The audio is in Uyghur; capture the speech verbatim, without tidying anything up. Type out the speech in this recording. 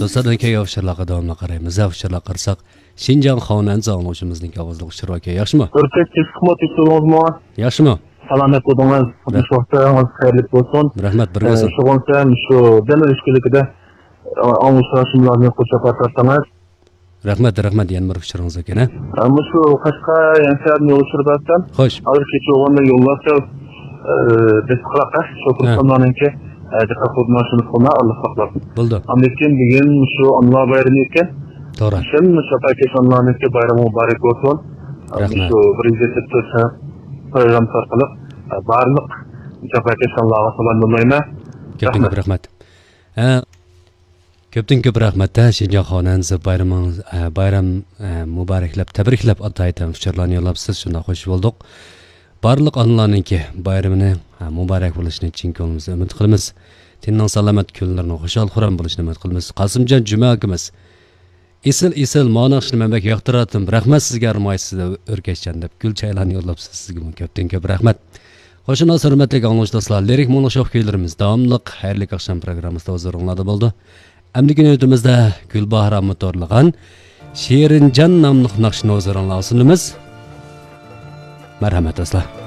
دوستلار، كەينىگە ئۇچۇرلارغا داۋاملىق قارايمىز. ھە، ئۇچۇرلارغا قارىساق، شىنجاڭ خەۋەرنىڭ ئاڭلىغۇچىمىزنىڭ ئاۋازلىق ئۇچۇرى بار ئىكەن. ياخشىمۇ؟ ئۆركەش، تېز خىزمەت ئۆتكۈزدىڭىزمۇ؟ ياخشىمۇ؟ سالامەت بولدىڭىز. رەھ- مۇشۇ ۋاقىتلىرىڭىز خەيرلىك بولسۇن. رەھمەت، بىر ئە، بولسۇن. شۇغۇنسەن، شۇ دەل ئۆز كۈنلۈكىدە، ئە، ئاڭلىغۇچىلار شۇملارنى قوشاپ ئارتىڭىز. رەھمەت، رەھمەت، يەنە بىر ئۇچۇرىڭىز ئىكەن، ھە؟ ئە، مۇشۇ قەشقەر يەنە سەۋەبنى ئۇچۇر بەرسەم. خوش. ھازىر كېچە بولغاندا يوللار سەل، ئە، بېسىقراق، ئە، شوپۇر ھە. ئۇستاملارنىڭكى، ئە، دىققەت قىلىپ مانا شۇنى قىلما، ئارىلىق ساقلاپ. بولدى. ئاندىن كېيىن بۈگۈن مۇشۇ ئانىلار بايرىمى ئىكەن. توغرا. شۇڭا مۇشۇ جاپاكەش ئانىلارنىڭكى بايرىمى مۇبارەك بولسۇن. ئە، رەھمەت. مۇشۇ بىر يۈز يەتتە تۆت پروگراممىسى ئارقىلىق، ئە، بارلىق جاپاكەش ئانىلارغا سالام يوللايمەن. كۆپتىن كۆپ رەھمەت. رەھمەت. ھە، كۆپتىن كۆپ رەھمەت، ھە، شىنجاڭ خەۋەرنىڭ بايرىمىڭىز، ھە، بايرام، ھە، مۇبارەكلەپ، تەبرىكلەپ، ئاتايىتەن ئۇچۇرلارنى يوللاپسىز، شۇنداق خوش بولدۇق. بارلىق ئانىلارنىڭكى بايرىمىنى، ھە، مۇبارەك بولۇشىنى چىن كۆڭلىمىزدىن ئۈمىد قىلىمىز. تېنىنىڭ سالامەت، كۈنلىرىنىڭ خۇشال-خۇرام بولۇشىنى ئۈمىد قىلىمىز. قاسىمجان جۈمە ئاكىمىز، ئېسىل، ئېسىل، مانا ناخشىنى مەن بەك ياقتۇراتتىم. رەھمەت سىزگە، ئەرمايسىز، ئۆركەشجان دەپ گۈل چايلارنى يوللاپسىز. سىزگىمۇ كۆپتىن كۆپ رەھمەت. خوش، شۇنداق ھۆرمەتلىك ئاڭلىغۇچى دوستلار، لىرىك مۇڭلۇق شوخ كۈيلىرىمىز داۋاملىق خەيرلىك ئاخشام پروگراممىسىدا ھۇزۇرۇڭلاردا بولىدۇ. ئەمدىكى نۆۋىتىمىزدە گۈلباھار ئامىتورلىغان شېرىنجان ناملىق ناخشىنى ھۇزۇرۇڭلارغا سۇنىمىز. مەرھەمەت دوستلار.